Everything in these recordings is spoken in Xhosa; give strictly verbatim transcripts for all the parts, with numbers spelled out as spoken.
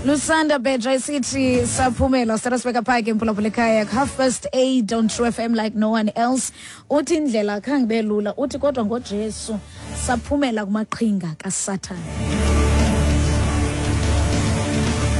Lusanda Beja isithi saphumela sithatha sibeka phaa ke mphulaphula ekhaya, half past eight on True F M like no one else. Uthi indlela khange ibe lula, uthi kodwa ngoJesu saphumela kumaqhinga kaSathane.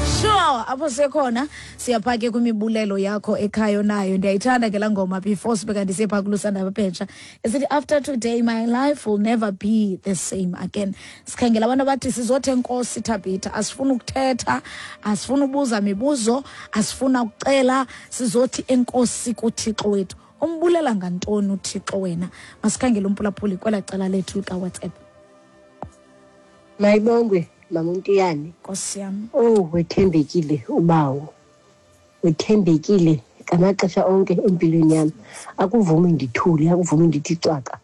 Sure, apho sikhona siyapha ke kwimibulelo yakho ekhaya nayo. Ndiyayithanda ke laa ngoma before sibe kanti siye phaa kuLusanda Beja, esithi after today my life will never be the same again. Sikhangela abantu abathi sizothe enkosi Thabitha, asifuna ukuthetha, asifuna ubuza mibuzo, asifuna ukucela, sizothi enkosi kuThixo wethu. Umbulela ngantoni uThixo wena? Masikhangele umphulaphuli kwelaa cala lethu likaWhatsApp. Mayibongwe Mama Ntiyane. Nkosi yam. Oh, wethembekile ubawo. Wethembekile ngamaxesha onke empilweni yam. Akuvumi ndithule, akuvumi ndithi cwaka.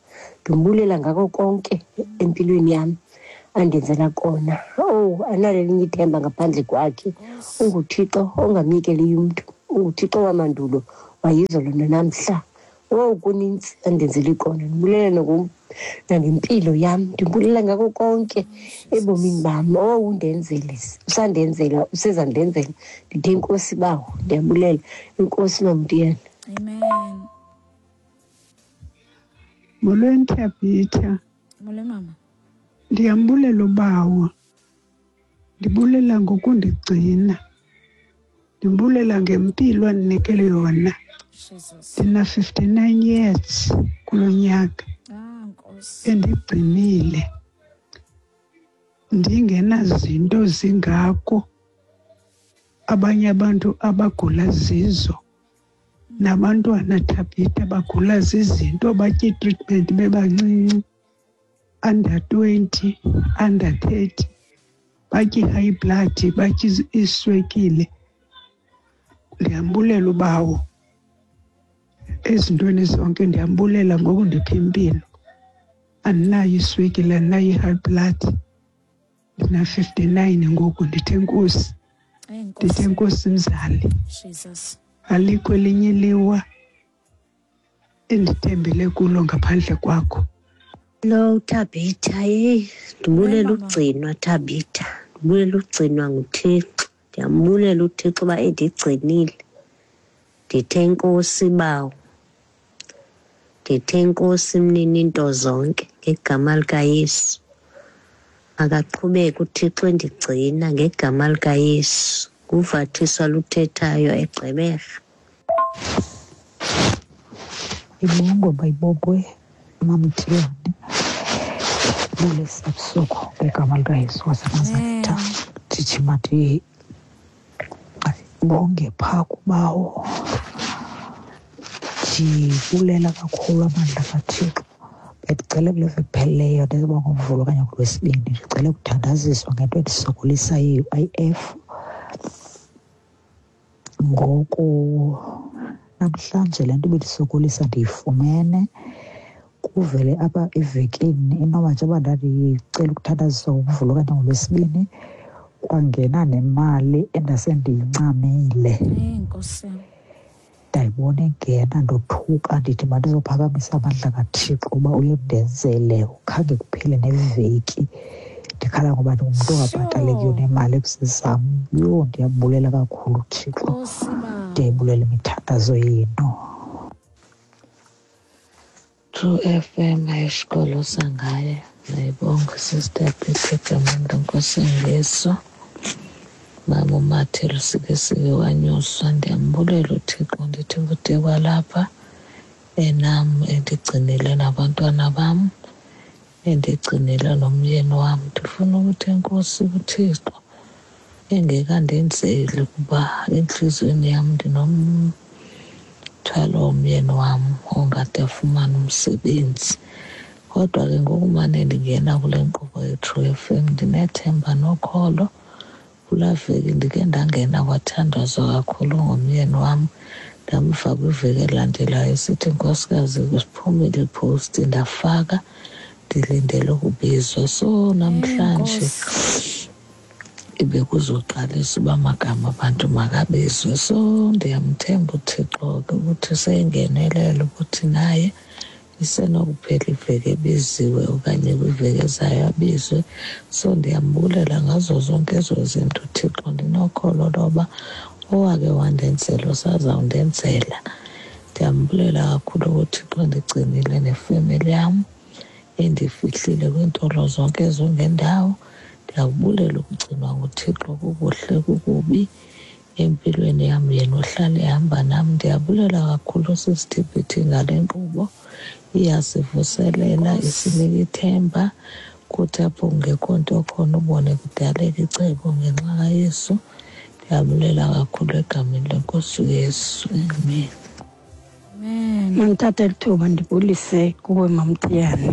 Ndimbulela ngako konke empilweni yam andenzela kona. Oh, analo elinye ithemba ngaphandle kwakhe. UnguThixo ongamyekeliyo umntu. UnguThixo wamandulo, wayizolo nanamhla. Oh, kunintsi andenzele kona. Ndimbulela nokum nangempilo yam, ndimbulela ngako konke ebomini bam. Oh, undenzele, usandenzela, usezandenzela. Ndithe inkosi bawo, ndiyabulela. Inkosi Mamntiyane. Amen. Molweni Thabitha. Molweni mama. Ndiyambulela ubawo. Ndibulela ngokundigcina. Ndimbulela ngempilo andinikele yona. Jesus. Ndina fifty-nine years kulo nyaka. Ah, Nkosi. Endigcinile. Ndingenazinto zingako abanye abantu abagula zizo. Nabantwana Thabitha bagula zizinto, batya i-treatment bebancinci, under twenty, under thirty, batya i-high blood, batya iswekile. Ndiyambulela ubawo ezintweni zonke, ndiyambulela ngokundipha impilo. Andinayo iswekile, andinayo i-high blood. Ndina fifty-nine ngoku, ndithe enkosi. Ndithe enkosi mzali. Jesus. Alikho elinye iliwa endithembele kulo ngaphandle kwakho. Hello Thabitha, hey, ndibulela Hey, mama. ugcinwa Thabitha, ndibulela ugcinwa nguThixo. Ndiyambulela uThixo uba endigcinile. Ndithe enkosi bawo. Ndithe enkosi mnini into zonke ngegama likaYesu. Makaqhubeke uThixo endigcina ngegama likaYesu. Nguvathiswa luthethayo eGqeberha. Ibongwe bayibongwe Mamthiyane. Bulesa ebusuku ngegama likaYesu waseNazaretha. Ndithi mandibonge phaa kubawo. Ndibulela kakhulu amandla kaThixo. Bendicele kule veki iphelileyo, ndizoba ngoMvulo okanye ngoLwesibini, ndicele ukuthandaziswa ngento endisokolisa ye-U I F. Ngoku namhlanje le nto ibindisokolisa ndiyifumene. Kuvele apha evekini, inoba njengoba ndandicela ukuthandaziswa ngoMvulo okanye ngoLwesibini, kwangena nemali endasendiyincamile. Eyi, Nkosi yam. Ndayibona ingena, ndothuka, ndithi mandizophakamisa amandla kaThixo uba uyondenzele. Khange kuphele neveki ndikhala ngoba ndingumntu ongabhatalekiyo Sure. nemali kusezam. Yho, ndiyambulela kakhulu uThixo. Nkosi bawo. Ndiyayibulela imithandazo yenu. True F M ayisikolo sangaye. Ndiyayibonga Sister Peter egameni leNkosi Yesu. Mama uMathelo sike sike wanyuswa. Ndiyambulela uThixo, ndithi kude kwalapha enam endigcinile nabantwana bam, endigcinile nomyeni wam. Ndifuna ukuthi enkosi kuThixo engekandenzeli, kuba entliziyweni yam ndinomthwalo womyeni wam ongade afumane umsebenzi. Kodwa ke ngokumane ndingena kule nkqubo yeTrue F M ndinethemba nokholo. Kulaa veki ndike ndangena kwathandazwa kakhulu ngomyeni wam. Ndamva kwiveki elandelayo esithi, nkosikazi, kusiphumile iposti, ndafaka, ndilindele ukubizwa. So namhlanje Enkosi. ibe kuzoqalisa uba amagama abantu makabizwe. So ndiyamthemba uThixo ke ukuthi seyingenelela ukuthi naye isenokuphela iveki ebiziwe okanye kwiveki ezayo abizwe. So ndiyambulela ngazo zonke ezo zinto uThixo, ndino Ndinokholo loba owake wandenzela usazawundenzela. Ndiyambulela kakhulu uThixo ndigcinile nefemeli yam, endifihlile kwiintolo zonke ezongendawo. Ndiyakubulela ukugcinwa nguThixo, kukuhle kukubi empilweni yam, yena uhlala ehamba nam. Ndiyabulela kakhulu sisithiphithi ngale nkqubo, iyasivuselela, isinika ithemba. Kuthi apho kungekho nto khona ubone kudaleka icebo ngenxa kaYesu. Ndiyabulela kakhulu egameni leNkosi uYesu, amen. Amen. Mandithathe eli thuba ndibulise kuwe Mamthiyane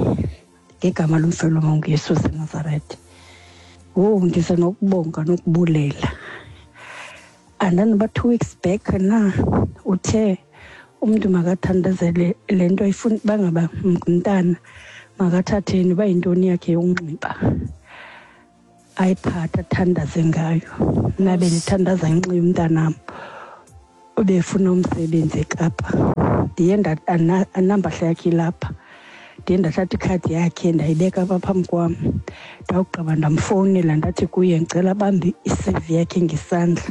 ngegama lomfelo wanguYesu waseNazaretha. Wowu, ndize nokubonga nokubulela. Andanoba two weeks back na uthe umntu makathandazele le nto ayifuna, bangaba ngumntana makathatheni uba yintoni yakhe yokunxiba ayiphathe athandaze ngayo. Mna bendithandaza ngenxa yomntanam obefuna umsebenzi eKapa. Ndiye anampahla yakhe ilapha, ndiye ndathatha ikhadi yakhe ndayibeka apha phambi kwam. Ndawugqiba ndamfowunela ndathi kuye ndicela abambe i-C V yakhe ngesandla.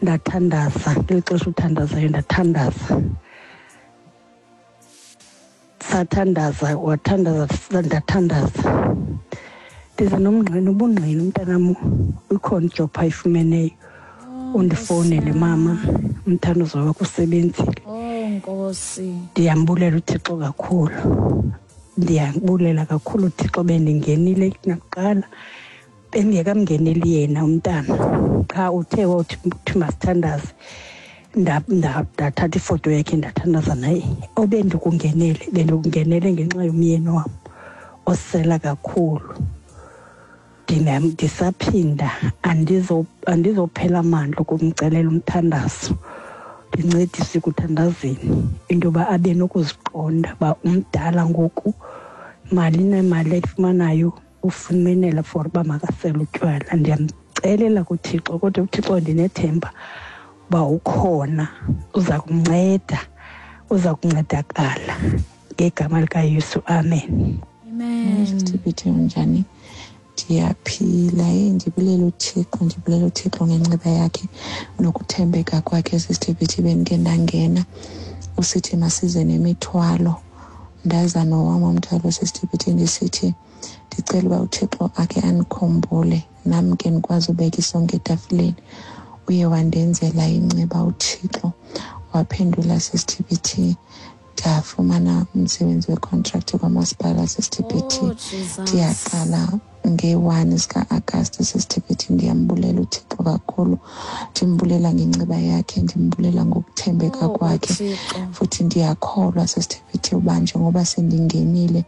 Ndathandaza ngeli xesha uthandazayo, ndathandaza. Sathandaza, wathandaza, ndathandaza. Ndize nomngqina, ubungqina umntanam ikhona ijob ayifumeneyo. Undifowunele mama, umthandazo wakho usebenzile. Oh Nkosi. Ndiyambulela uThixo kakhulu. Ndiyambulela kakhulu uThixo, bendingenile nakuqala. Bengekamngeneli yena umntana. Qha uthe wawuthi masithandaze. Ndathatha ifoto yakhe ndathandaza naye. Obendikungenele, bendikungenele ngenxa yomyeni wam osela kakhulu. Ndisaphinda andizophela amandla ukumcelela umthandazo. Ndincedise ekuthandazeni into yoba abe nokuziqonda uba umdala ngoku, mali nemali ayifumanayo ufumenela for uba makasele utywala. Ndiyamcelela kuThixo, kodwa uThixo ndinethemba uba ukhona, uza kumnceda, uza kuncedakala ngegama likaYesu, amen. Amen. Sithiphithi unjani? Ndiyaphila. Hey, ndibulela uThixo, ndibulela uThixo ngenceba yakhe nokuthembeka kwakhe. Sisithiphithi bendike ndangena usithi masize nemithwalo, ndaza nowam umthwalo sisithiphithi, ndisithi ndicela uba uThixo akhe andikhumbule nam ke ndikwazi ubeka isonka etafileni. Uye wandenzela inceba uThixo, waphendula sisithiphithi, ndafumana umsebenzi wecontract kwamasipala sisithiphithi. Ndiyaqala nge-one zika-Agasti sisithiphithi. Ndiyambulela uThixo kakhulu, ndimbulela ngenceba yakhe, ndimbulela ngokuthembeka kwakhe. Futhi ndiyakholwa sisithiphithi uba njengoba sendingenile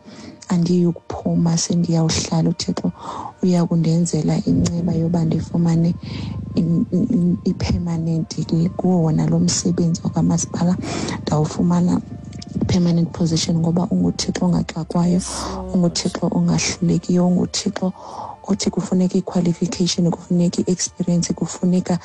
andiyi ukuphuma, sendiyawuhlala. uThixo uya kundenzela inceba yoba ndifumane i-permanent kuwo wona lo msebenzi wakwamasipala, ndawufumana permanent position, ngoba unguThixo ongaxakwayo, unguThixo ongahlulekiyo, unguThixo othi kufuneka i-qualification, kufuneka i-experience, kufuneka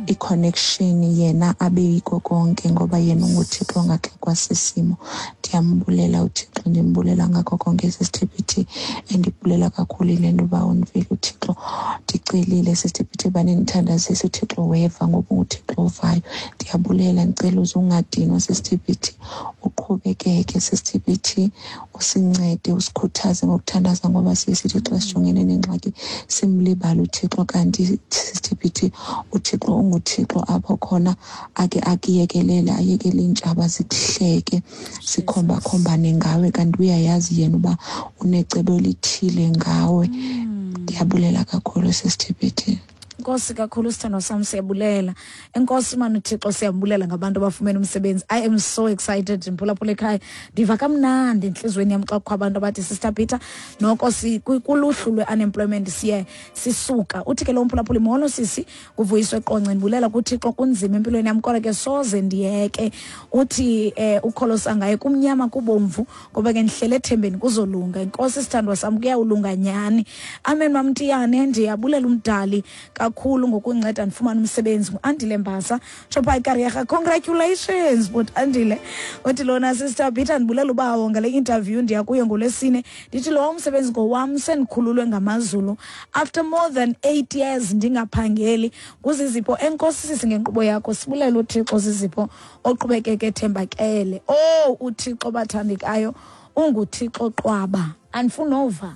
i-connection, yena abe yiko konke, ngoba yena unguThixo ongaxakwa sisimo. Ndiyambulela uThixo, ndimbulela ngakho konke sisithiphithi, endibulela kakhulu ile nto uba undivile uThixo. Ndicelile sisithiphithi uba nindithandazise, uThixo weva ngoba unguThixo ovayo. Ndiyabulela, ndicela uze ungadinwa sisithiphithi, uqhubekeke sisithiphithi, usincede, usikhuthaze ngokuthandaza, ngoba siye sithi xa sijongene nengxaki simlibala uThixo, kanti sisithiphithi uThixo unguThixo apho khona ake akuyekelele, ayekele iintshaba zikuhleke, sikhomba-khombane ngawe, kanti uyayazi yena uba unecebo elithile ngawe. Ndiyabulela kakhulu sisithiphithi. Nkosi kakhulu sithandwa sam, siyabulela. Enkosi mani uThixo, siyabulela ngabantu abafumene umsebenzi. I am so excited mphulaphula ekhaya. Ndiva kamnandi entliziyweni yam xa kukho abantu abathi Sister Peter noko kuluhlu lwe-unemployment siye sisuka. Uthi ke lo mphulaphuli, molo sisi, kuvuyiswe Qonce, ndibulela kuThixo, kunzima empilweni yam kodwa ke soze ndiyeke. Uthi eh, ukholosa ngaye kumnyama kubomvu, ngoba ke ndihlele ethembeni kuzolunga. Enkosi sithandwa sam, kuyawulunga nyhani. Amen mamtiyane, ndiyabulela umdali kakhulu ngokunceda ndifumane umsebenzi. Nguandile Mbasa Chopha ikariyerha. Congratulations but Andile. Uthi lona sister Peter, ndibulela ubawo ngale interview ndiya kuyo ngolwesine. Ndithi lo umsebenzi ngowam, sendikhululwe ngamazulu after more than eight years ndingaphangeli. Kuzizipho, enkosi sisi ngenkqubo yakho, sibulela uThixo zizipho oqhubekeke ethembakele. Oh uThixo bathandekayo unguThixo qwaba. Andifuna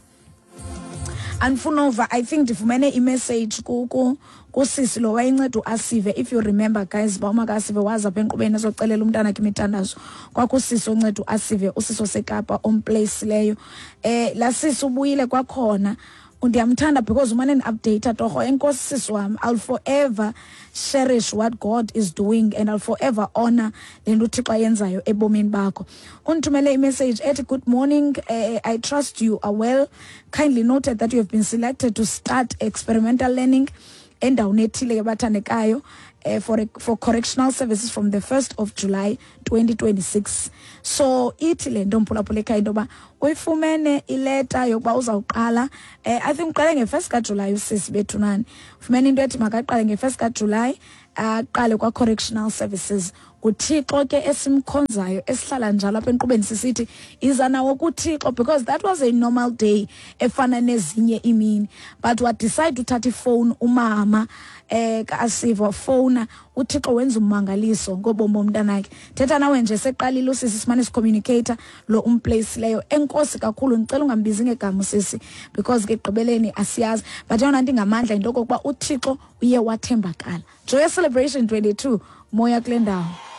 andifuna I think ndifumene imessage ku kusisi lo wayenceda uAsive. If you remember guys, ba uma kaAsive waza apha enkqubeni ezocelela umntana wakhe imithandazo, kwakusisi onceda uAsive, usisi oseKapa omplace leyo. Eh la sisi ubuyile kwakhona. Ndiyamthanda because umane ndi-update torho. Enkosi sisi wam, I'll forever cherish what God is doing and I'll forever honor le nto uThixo ayenzayo ebomini bakho. Undithumele imessage ethi, "Good morning, uh, I trust you are well. Kindly noted that you have been selected to start experimental learning endaweni ethile ke bathandekayo uh, for, for correctional services from the first of July twenty twenty-six." So ithi le nto, mphulaphula ekhaya, into yoba uyifumene ileta yokuba uzawuqala, eh, I think uqale nge-first kaJulayi. Usisi bethu nani ufumene into ethi makaqale nge-first kaJulayi, aqale kwa-correctional services. NguThixo ke esimkhonzayo, esihlala njalo apha enkqubeni sisithi iza nawo kuThixo, because that was a normal day efana nezinye imini, but wadecide uthatha ifowuni umama eh kaAsiva, wafowuna uThixo, wenza ummangaliso ngobomi bomntanakhe. Thetha nawe nje seqalile usisi, simane sicommunicate lo umplace leyo. Enkosi kakhulu. Ndicela ungambizi ngegama usisi because ke ekugqibeleni asiyazi, but eyona nto ingamandla yinto okokuba uThixo uye wathembakala. Joyous Celebration twenty-two, moya kule ndawo.